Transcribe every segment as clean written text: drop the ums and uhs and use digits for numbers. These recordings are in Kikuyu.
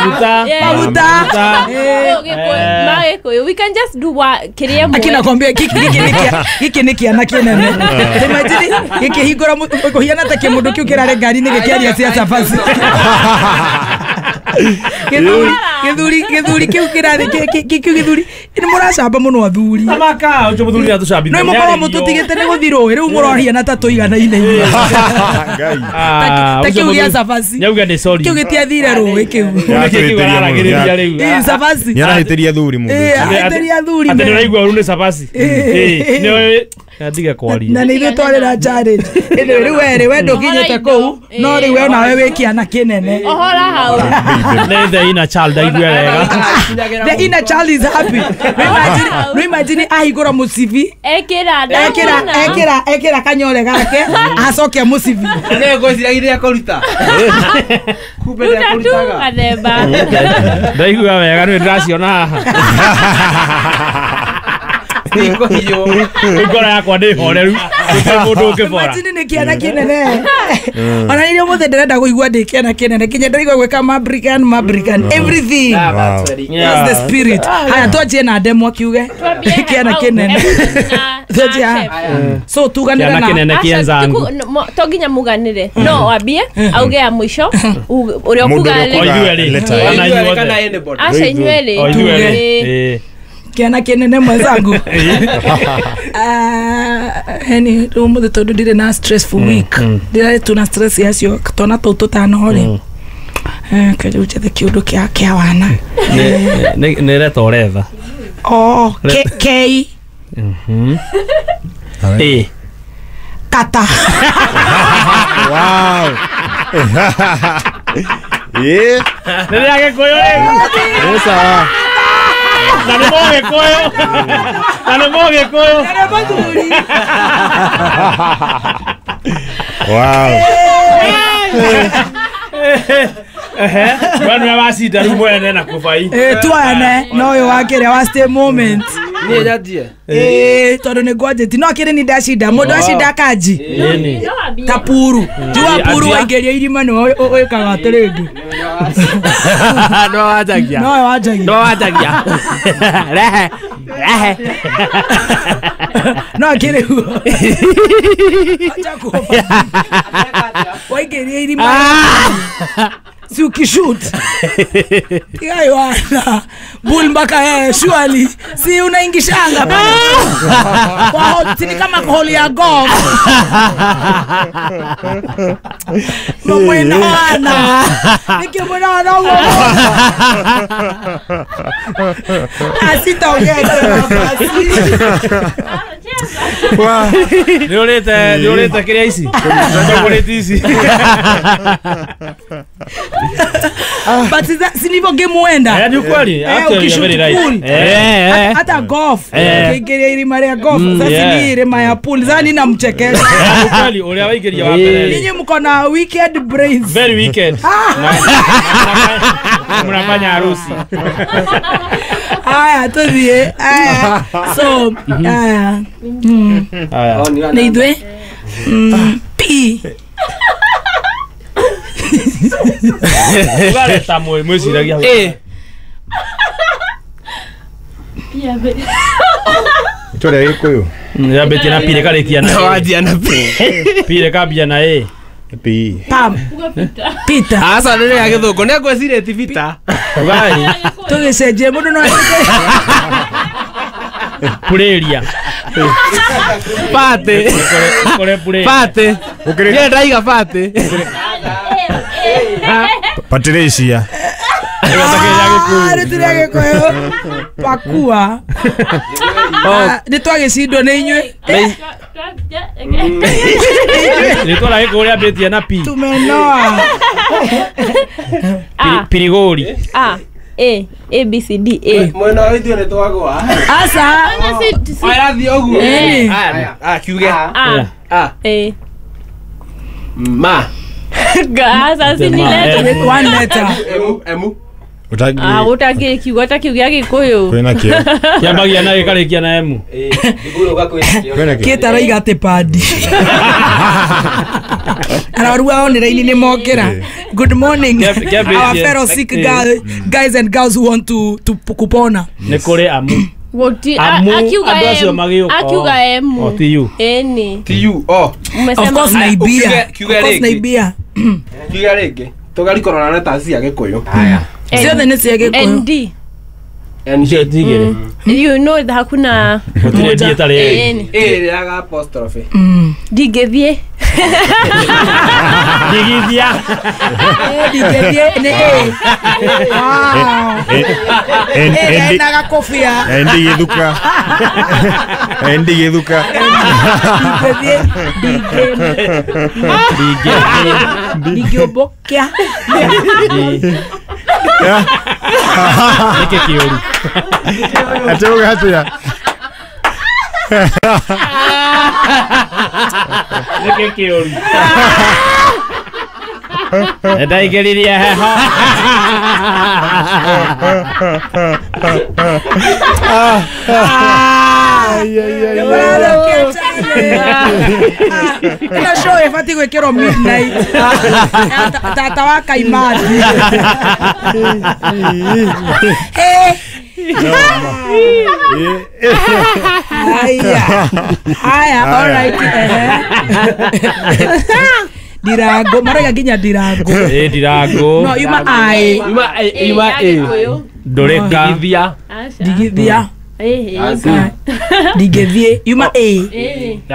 Maguta. Maguta. Magikuyu we can just do what kiria mwe. Akina kwambia giki ni kiana kinene. Imagine gikihingura kuhiana ta kimundu kiu kirare ngari-inĩ gĩkĩaria cia cabaci. Gĩthuri kĩu kĩrathi kĩu gĩthuri nĩ mũracamba mũno athuri. Tamaka ucio muthuri atucambithia. No mũkorwo mũtũtigĩte nĩ gũthi rũĩ rĩu mũrohiana ta tũiganaine inyuĩ. Ta kĩu gĩa cabaci. Nyauga nĩ sorry. Kĩu gĩtiathire rũĩ kĩu. Nĩarahĩtĩria rĩu. Ĩ cabaci. Nĩarahĩtĩria athuri mũndũ. Ĩ ahĩtĩria athuri. Atĩ nĩũraigua ũru nĩ cabaci. Ĩ nĩ ndige kwaria. Na nĩ ithuĩ twarĩ challenge. Ĩndĩ rĩu werĩ we ndũkinyĩte kũu no rĩu we nawe wĩ kĩana kĩnene. Ohora hau. Nĩ the inner child aigue wega. The inner child is happy. No imagine ahingũra mũcibi. Ekĩra ekĩra ekĩra kanyore gake acoke mũcibi. Nĩ ngwĩciragia kũruta. Kumbe nĩ akũrutaga. Gathemba. Ndaigua wega nĩ ndĩraciona haha. Ngoro yakwa ndĩ horeru. Gũtirĩ mũndũ ũngĩbora. Imagine nĩ kĩana kĩnene. Ona nĩ ũmũthĩ ndĩrenda kũigua ndĩ kĩana kĩnene kinya ndĩraigua gwĩka mabrican mabrican everything. That's the spirit. Haya twanjie na ndemwa kiuge kĩana kĩnene. Twanjie. So tuganĩre na kĩana kĩnene kĩenzangu. To nginya muganĩre. No wambie auge ya mũico ũrĩa ũkuga rĩ. Aca inyuĩ rĩ. Kiana kĩnene mwenzangu. Heni ũmũthĩ tondũ ndirĩ na stressful week. Ndirarĩ tu na stress yacio twana tũu tũtano rĩ. Kĩrĩu njethe kĩũndũ kĩa kĩa wana. Nĩ reta ũretha. Oh, K. A. Kata. Wow. Yeah. Nĩ rĩa Gĩkũyũ rĩu. Nĩ sawa. Na nĩ Mũgĩkũyũ. Na nĩ Mũgĩkũyũ. Na nĩ mũthuri. Wow. We nĩwe wacinda rĩu mwene na kũbai. Tuane no ũyũ wa kĩrĩa wa stay moment. Niĩ nyanjie. Tondũ nĩ ngwanjĩtie no kĩrĩ ni ndacinda mũndũ acinda kanji. Ta puru. Jua puru waingĩria irima nĩ ũĩkaga atĩrĩngĩ. No wanjagia. No wanjagia. No wanjagia. Rehe. Rehe. No kĩrĩ guo. Acha kuoba. Waingĩria irima. Si ukishoot. Tiga bull mpaka surely si unaingishanga kwa hole si kama hole ya golf. Mwena nikimwona uo asitaongea tena basi. Nĩ ũrĩte kĩrĩa ici. Chocolate ici. But si ndivyo game huenda. Ni ukweli. Actually you're very right. Hata golf. Ukiingiria irima rĩa golf. Sasa ni irima ya pool. Sasa nina mchekesha. Ukweli ũrĩa waingĩria wa mbere. Ninyi mko na wicked brains. Very wicked. Mnafanya harusi. Aya tuthiĩ. Aya. So aya. Aya. Nĩ ithuĩ. P. Ũgareta mwĩciragia. A. Itũra rĩa Gĩkũyũ. Yambĩtie na P rĩkarĩkia na A. Wanjia na P. P rĩkambia na A. P. Pam. Peter. Aca nĩ rĩa Gĩthũngũ nĩ ngwĩcirĩtie Peter. Ũgai. Tũgĩcenjie mũndũ no Purĩria. Pate. Kũrĩ purĩria. Pate. Niĩ ndaiga pate. Patricia. Nĩ tũrĩa Gĩkũyũ. Pakua. Nĩ twagĩcindwo nĩ inyuĩ. Rĩtwa rĩa Gĩkũyũ rĩambĩtie na P. Tumenoa. Pirigori. A. A A B C D A. Mwena wa ithuĩ nĩ twagwa. Aca. Ĩrathiĩ ũguo. A kiuge. A. A. A. Ma. Sasa si ni letter. One letter. M M. Ah, utangä kiugo ta kiu gä a gä kå yå Kwĩna kĩo. Kĩambagia na gĩkarĩkia na M. Kwĩna kĩo. Kĩta arauga atĩ padi. Arwaru a online nĩ mokĩra. Good morning. Our fellow sick guys and girls who want to kupona. Nĩ kũrĩ amu. Amu andũ acio magĩũka. Akiuga M. O ti U. Ĩni. Ti U. Oh. Of course naibia. Of course naibia. Kiuga rĩngĩ. Tũgarikorora na ta cia Gĩkũyũ. Haya. Ciothe nĩ cia Gĩkũyũ. ND. ND. You know hakuna gũtirĩ D ĩtarĩ A. A yaga apostrophe. Ndingĩthiĩ. Ndigithia. Ndingĩthiĩ nĩ A. Wow. N na gakobia. Ndigithuka. Ndigithuka. Ndingĩthiĩ. Ndingĩũmbũkia. Nĩkĩ kĩũru? Ate uga atĩa? Nĩkĩ kĩũru? Ndaingĩririe heho. Ĩno show ĩbatiĩ gwĩkĩrwo midnight. Tata wa Kaimathi. Haya. Haya, all right. Ndirango, maraiga nginya ndirango. Ndirango. No, yuma ai. Yuma A. Yuma A. Ndũrĩka. Ndigithia. Ndigithia. Ndingĩthiĩ. Yuma A.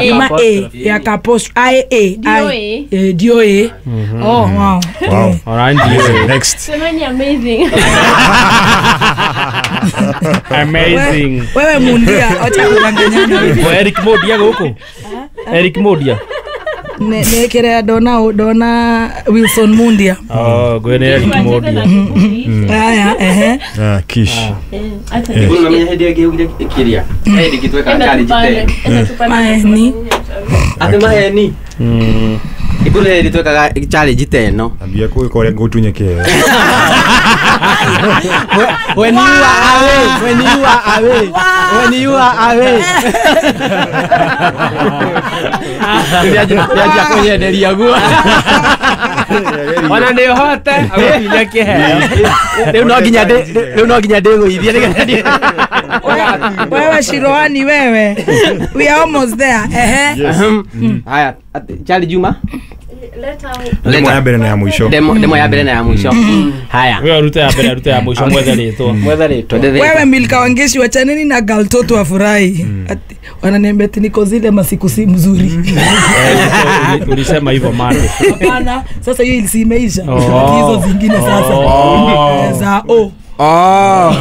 Yuma A. Ya kapost I A I. DOA. Oh, wow. Wow. All right, DOA. Next. So many amazing. Amazing. Wewe mundia, acha kudanganyana. Wewe Eric Modia gũkũ. Eric Modia. Ne kĩrĩa ndona Wilson Mundia. Oh, gwene Eric Modia. Haya, ehe. Ah, kish. Unamenya hĩndĩ ĩngĩ ugire kĩrĩa. Hĩndĩ ĩngĩ twekaga challenge te. Maheni. Atĩ maheni. Ikuru hĩndĩ twekaga challenge te ĩno. Ambia kũĩka ũrĩa ngũtunye kĩheo. When you are away, when you are away, when you are away. Ndianjia kũnyenderia guo. Ona nĩ ũhote agũkinya kĩheo. Rĩu no nginya ndĩgũithie nĩgetha. Wewe Shiroani wewe. We are almost there. Ehe. Haya, Charlie Juma. Demo ya mbere na ya mũico. Demo ya mbere na ya mũico. Haya. Wewe rute ya mbere, rute ya mũico mwethe rĩtwa. Mwethe rĩtwa. Wewe Milka Wangeshi wachaneni na Galtoto afurahi. Wananiambia ati niko zile masiku si mzuri. Ulisema hivyo mande. Hapana, sasa hiyo isimeisha. Hizo zingine sasa. Za o. Oh.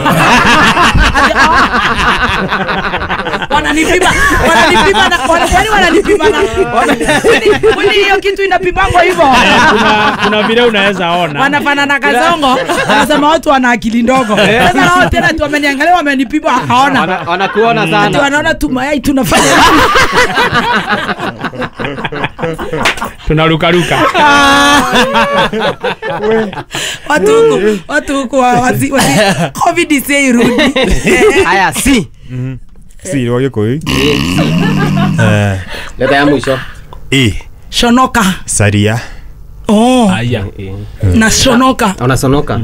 Wananipima na wananipima na kwani hiyo kitu inapimangwa hivyo? Kuna vile unaweza ona. Wanafanana kazongo, wanasema watu wana akili ndogo. Sasa wao tena tu wameniangalia wamenipima wakaona. Wanakuona sana. Watu wanaona tu mayai tunafanya. Tunaruka ruka. Watu huko wasi COVID isirudi. Haya si. Si wa Gĩkũyũ. Leta ya mwisho. E. Shonoka. Saria. Oh. Aya. Na shonoka. Ona sonoka.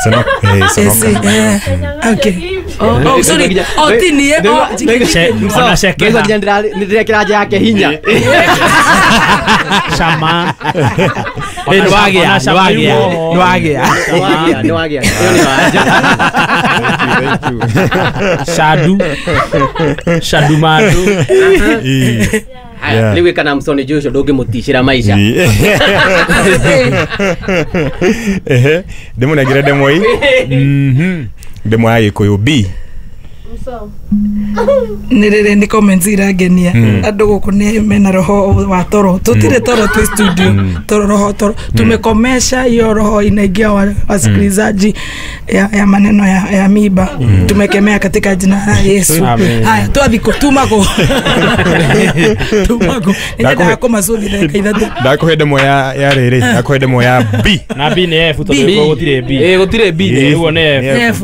Sonoka. Sonoka. Okay. Oh, sorry. Oh, tini oh. Ona shekeha. Nĩndĩrekĩra nja yake hinya. Shama. Nĩwagĩa, nĩwagĩa, nĩwagĩa. Nĩwagĩa. Ĩyo nĩ wanja. Thank you. Shadu. Shadu madu. Haya, rĩu ĩka na Msoni Joshua ndũngĩmũticĩra maica. Ehe, ndĩmũnengere ndemwa ii. Ndemwa ya Gĩkũyũ B. Nä nä comments irangenia andå gå kå nä mena roho wa toro tutire toro twi studio toro roho toro tumekomesha hiyo roho inaingia wasikilizaji ya maneno ya miba tumekemea katika jina la Yesu. Haya twathiko tumako tumako nenda ko macuthi ndagika ithatå ndakuhe ndemwa ya rĩrĩ ndakuhe ndemwa ya B na B nĩ F tondũ gũtirĩ B gũtirĩ B ũguo nĩ F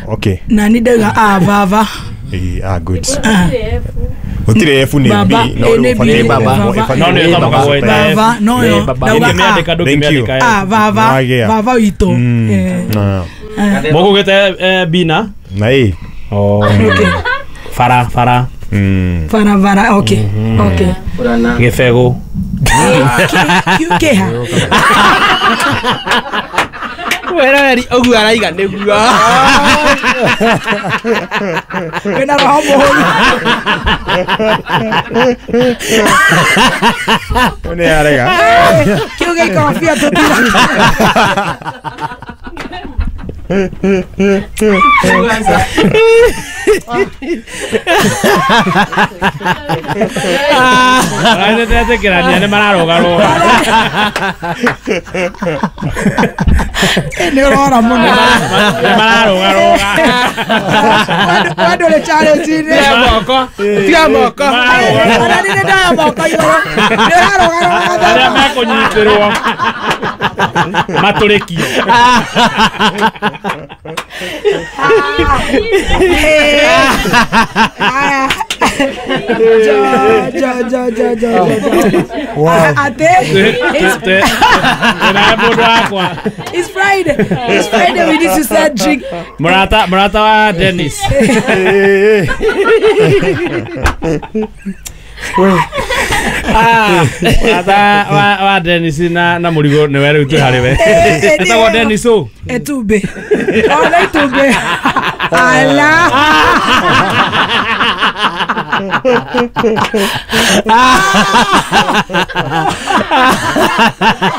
okay na ni ndauga a baba. Ah, good. Gũtirĩ F nĩ B no nĩ baba no nĩ ĩtamũkagwo ĩta baba no yo ndũngĩmĩandĩka ndũngĩmĩandĩka a baba baba witũ mũgũgĩte B na A oh okay fara fara fara fara okay okay gĩbegũ kĩha wereri ũguo araiga nĩguo wĩna roho mũhũru nĩ arega kĩu gĩikorobia tũtira Aretĩkĩrania nĩ mararũgarũga nĩ ũrora mũno nĩ mararũgarũga wendũ rĩ challenge-inĩ moko tiga moko ona nĩ ndaya moko igũrũ nĩ ũrarũgarũga arĩa mekũnyitĩrwo matũrĩkio Jo. Wow. Ate. It's Friday. It's Friday. We need to start drink. Murata wa Dennis. Murata wa Dennis na murigo ni wewe tu harĩ we. Etagwo Dennis o. Etube. Ona itube. Ala.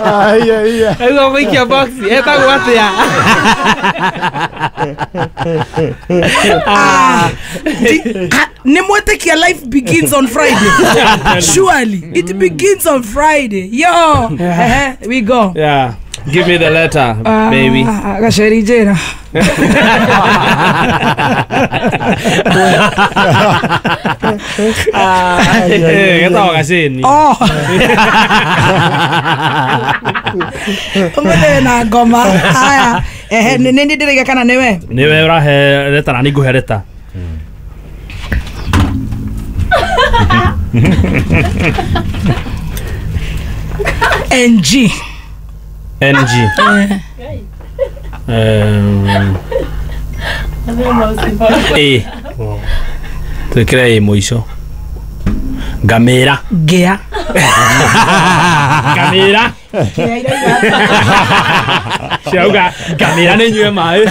Ai ai. Ego gũikia box etagwo atia? Nĩ mwĩtĩkia life begins on Friday. Surely it begins on Friday. Yo, we go. Yeah. Give me the letter, baby. Gaceri njĩra. Getagwo gacĩni. Oh. Ũmũthĩ na ngoma. Haya. Nĩ nĩ ndĩraiga kana nĩwe? Nĩwe ũrahe leta na nĩngũhe leta. NG. NG. A. Twĩkĩre A mũico. Ngamĩra. Ngĩa. Ngamĩra. Ciauga ngamĩra nĩ nyue maĩ.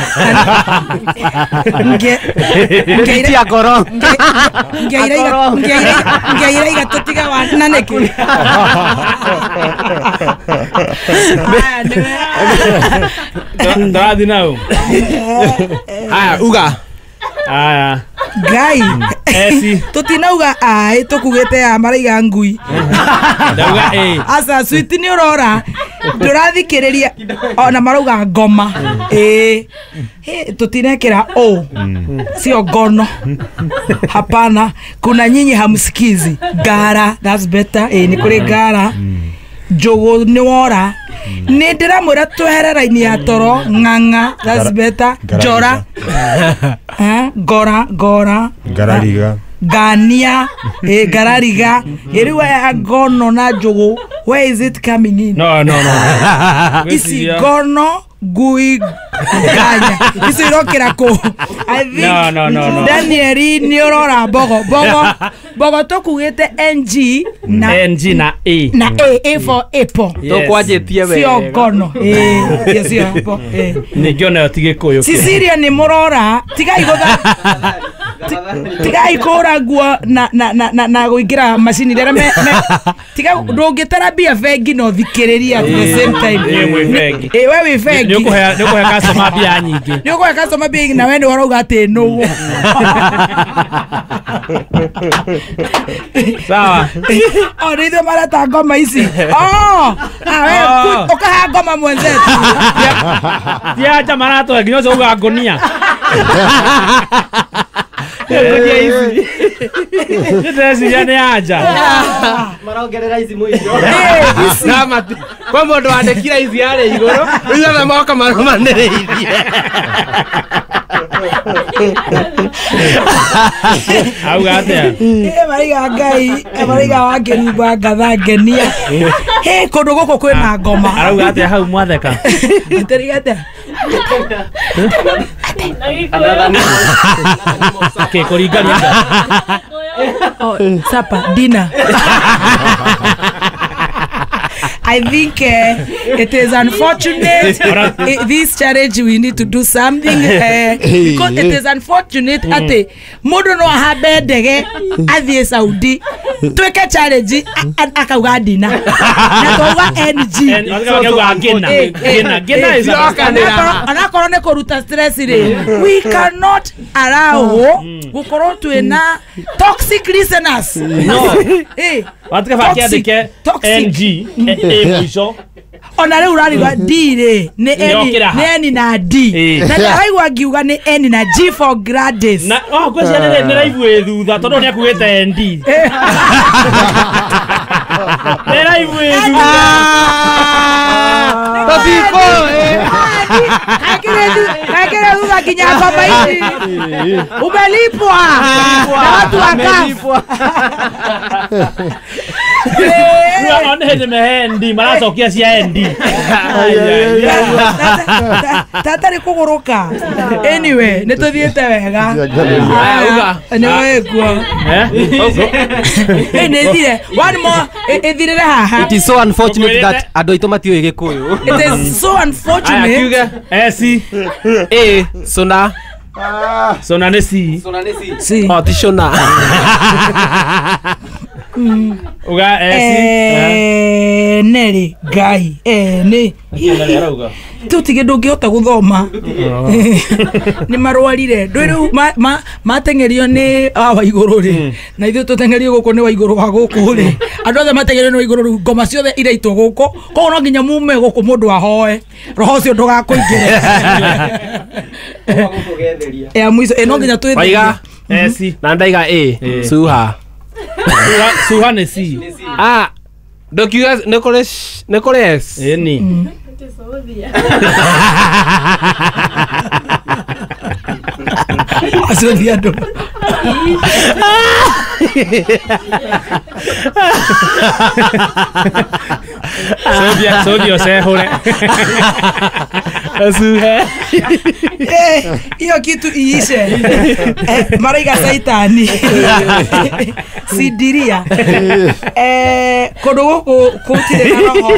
Ngĩtia ngoro. Ngĩa iraiga tũtiga wa na nĩkĩ? Ndĩrathiĩ nau. Haya uga. Aya. Ngai. Esi. Tutinauga ai tukugite ya maraiga ngui. Ndauga A. Aca sweet ni urora. Ndurathikiriria ona marauga ngoma. Eh. Tutinekira o. Sio gono. Hapana, kuna nyinyi hamsikizi. Gara, that's better. Ni kuri gara. Njugu ni wora. Ni ndiramwira twehere raini ya toro ng'ang'a, that's better. Njora. Ngora ngora ngarariga ngania ngarariga iriu ya ngono na njugu, where is it coming in? No. Ici ngono ngui nganya ici irokira kũ? I think no. Danieli ni urora mbogo mbogo mbogo tukugite NG na NG na A na A, A for apple. Tukwanjĩtie wega sio ngono sio apple. Ningĩona yo ti Gĩkũyũ. Cecilia ni mũrora tigai gũtha Tigai kũhũra nguo na na na na na gũingĩra macini rĩrĩa me tiga ndũngĩtara mbia bengi no thikĩrĩria at the same time. Ĩ, mwĩ bengi. Ĩ, we wĩ bengi. Nĩ ũkũhe customer mbia nyingĩ. Nĩ ũkũhe customer mbia nyingĩ na we nĩ ũrauga atĩ nũgũ. Sawa. O nĩ ithuĩ mareta ngoma ici. Oh, ah, we ũkaha ngoma mwenzetu. Ti anja maratũhe nginya ũcio uga ngũnia. Ngũnia ici. Ndĩreciria nĩ anja. Marongerera ici mũico. Kwa mũndũ wandĩkire ici arĩ igũrũ rĩu othe moka marũmanĩrĩirie. Auga atĩa? Maraiga Ngai, maraiga wakĩrumba ngatha ngenia. Hĩ, kũndũ gũkũ kwĩna ngoma. Arauga atĩa hau mwatheka? Atĩrĩga atĩa? Kĩ kũringania? Oh, supper, dinner. I think it is unfortunate. This challenge we need to do something because it is unfortunate ati mundu no ahambe ndege athie Saudi twike challenge akauga dina na twauga NG Gina gina is anakorwo ni kuruta stress ri we cannot allow gukorwo twina toxic listeners. No. Watuka bakiandike NG A mwisho. Ona riu urarigwa D ri ni N na D na ndaraigua ngiuga ni N na G for Gladys. Na oh ngweciria ni raivu ĩ thutha tondu ni akuĩte ND. Ni raivu ĩ thutha. Tatipo Kakire thutha nginya ngoma ici. Umelipwa na watu wa CAF. One hĩndĩ mehe ND maracokia cia ND. Tata nĩ kũgũrũka. Anyway, nĩ tũthiĩte wega. Nĩ wĩkuo. Nĩ ĩthire. One more ĩthirĩre haha. It is so unfortunate that andũ aitũ matiũĩ Gĩkũyũ. It is so unfortunate. S A sona. Sona nĩ C. Sona nĩ C. C. Oh, ti shona. Uga S. Neri Ngai. Nĩ. Tutige ndũngĩhota gũthoma. Nĩ marwarire. Ndũĩ rĩu mateng'erio nĩ wa igũrũ rĩ. Na ithuĩ tũteng'erio gũkũ nĩ wa igũrũ wa gũkũ rĩ. Andũ othe mateng'erio nĩ wa igũrũ rĩu ngoma ciothe iraitwo gũkũ. Koguo no nginya mume gũkũ mũndũ ahoe. Roho ũcio ndũgakũingĩre. Ya mwico no nginya twĩtherie. Waiga S na ndaiga A suha. Suha nĩ C. Ah, ndokiuga nĩ kũrĩ S. Ĩni. Acio ti andũ. Sodia ũcehũre. Asuhe. Hiyo kitu iishe. Maraiga saitani. Sidiria. Kũndũ gũkũ gũtirĩ na roho.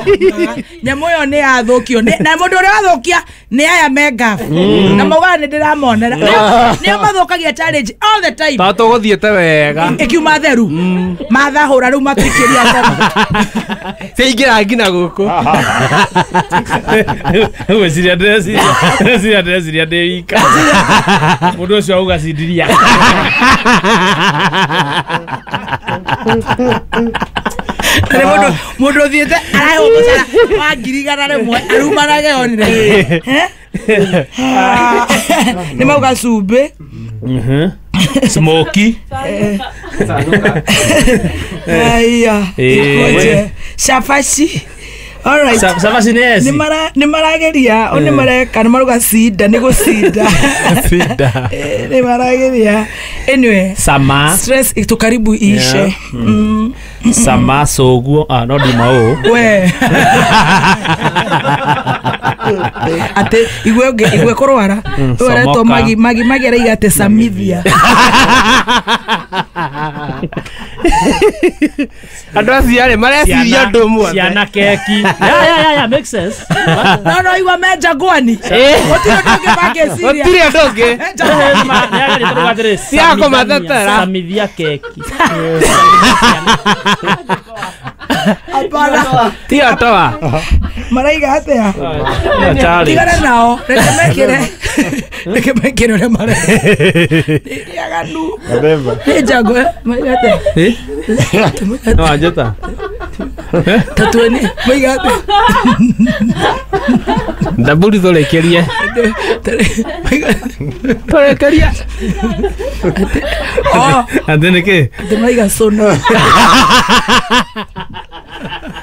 Nyamũ ĩyo nĩ yathũkio. Na mũndũ ũrĩa wathũkia nĩ aya me ngabu. Na maugaga nĩ ndĩramonera. Nĩo mathũkagia challenge all the time. Tondũ tũgũthiĩte wega. Ĩkiuma theru. Mathahũra rĩu matũikĩria ngoma. Ciaingĩra nginya gũkũ. Ngwĩciria ndĩreciria ndĩ wika. Mũndũ ũcio auga cindiria. Mũndũ ũthiĩte araheo mũcara wa 100,000 arumanage onire. Nĩ mauga cumbĩ. Smoky. Aya. Shafashi. All right. Shafashi nĩ S. Nĩ marageria, o nĩ mareka, nĩ maruga cinda, nĩ gũcinda. Cinda. Nĩ marageria. Anyway, sama stress itukaribu iishe. Sama soguo, ah no ndima ũũ. We. Ate igwe igwe kũrwara. Ũyũ aretwo Magi Magi Magi araiga atĩ Samithia. Andũ acio arĩ mareciria ũndũ ũmwe. Ciana keki. Yeah, makes sense. No igua me njagwani. Gũtirĩ ũndũ ũngĩ mangĩciria. Gũtirĩ ũndũ ũngĩ. Cia kũmatetera. Samithia keki. Hapana. Ti otoa. Maraiga atĩa? Tigana nao. Reke mekĩre. Reke mekĩre ũrĩa mareka. Nĩ aganu. Nĩ njagwa. Maraiga atĩa? No anjĩta. Tatueni. Maiga atĩa? Ndaburi tũrĩkĩrie. Tũrĩkĩrie. Atĩ nĩkĩ? Atĩ maraiga cũnũ.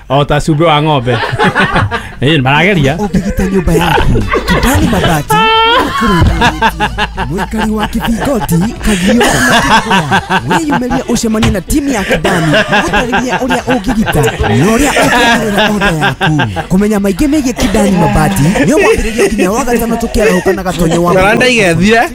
O ta cumbĩ wa ng'ombe. Ĩĩ marageria. Ũngĩgita nyũmba yaku Kidani mabati mwikari wa kibingoti kagio na kĩgũa wĩyumĩrie ũcemanie na timu ya Kidani gũtarĩria ũrĩa ũngĩgita na ũrĩa ũngĩongerera oda yaku. Kũmenya maingĩ megiĩ Kidani mabati nĩ mwambĩrĩrio nginya wa gatano tũkĩarahũka na gatonyo wa Taranda igethire.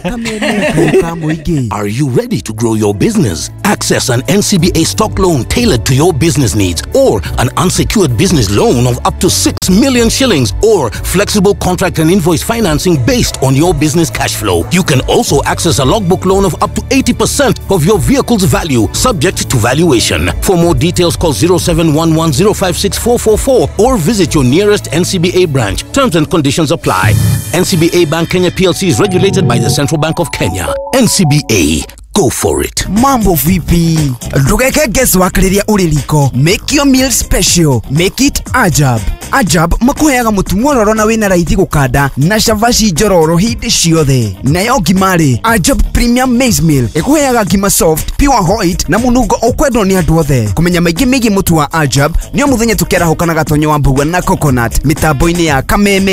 Kameme ka mũingĩ. Are you ready to grow your business? Access an NCBA stock loan tailored to your business needs, or an unsecured business loan of up to 6 million shillings, or flexible contract and invoice financing based on your business cash flow. You can also access a logbook loan of up to 80% of your vehicle's value, subject to valuation. For more details, call 0711056444 or visit your nearest NCBA branch. Terms and conditions apply. NCBA Bank Kenya PLC is regulated by the Central Bank of Kenya. NCBA. Go for it. Mambo vipi? Ndũgeke guesswork rĩrĩa ũrĩ riko. Make your meal special. Make it Ajab. Ajab makuheaga mũtu mwororo na wĩna raithi gũkanda na cabaci njororo hĩndĩ ciothe. Nayo ngima rĩ, Ajab Premium Maize Meal ĩkũheaga ngima soft, pure white na mũnungo ũkwendwo nĩ andũ othe. Kũmenya maingĩ megiĩ mũtu wa Ajab nĩ o mũthenya tũkĩarahũka na gatonyo wa mbũgua na coconut mĩtambo-inĩ ya Kameme.